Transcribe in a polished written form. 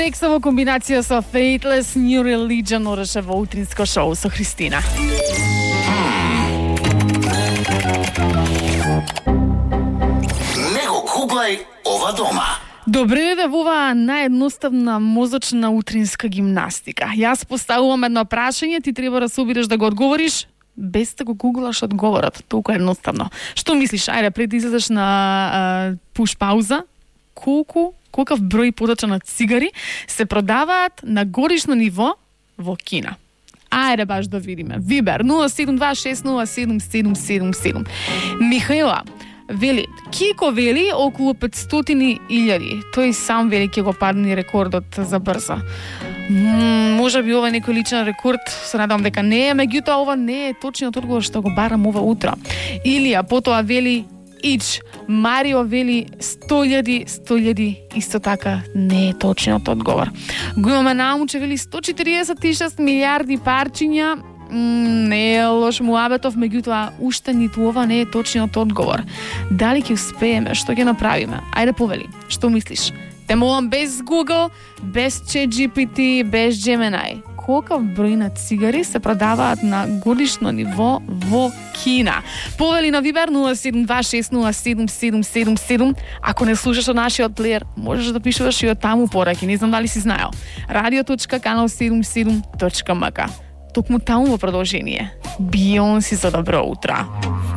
Alexa во комбинација со Faithless New Religion ореше во утринско шоу со Христина. Не го гуглај ова дома. Добре да во оваа наједноставна мозочна утринска гимнастика. Јас поставувам едно прашање, ти треба да се обидеш да го одговориш без да го гуглаш одговорот. Толку едноставно. Што мислиш? Ајде, пред да излезеш на пуш пауза, колкав број поточна цигари се продаваат на годишно ниво во Кина? Ајде баш да видиме. Вибер 072607777. Михаила вели, Кико вели околу 500.000. Тој сам вели ќе го падне рекордот за брзо. Може би ова е некој личен рекорд, се надам дека не е, меѓутоа ова не е точниот одговор што го барам ова утро. Илија потоа вели Ич, Марио вели 100.000, исто така не е точниот одговор. Го имаме Наумче вели 146 милиарди парчиња, не е лош муабетов, меѓутоа уште ниту ова не е точниот одговор. Дали ќе успееме, што ќе направиме? Ајде повели, што мислиш? Те молам без Google, без ChatGPT, без Gemini. Колкав број на цигари се продаваат на годишно ниво во Кина? Повели на Вибер 072607777. Ако не слушаш од нашиот плеер, можеш да пишуваш и од таму пораки. Не знам дали си знаел. radio.kanal77.mk. Токму таму во продолжение. Бионси за добро утро.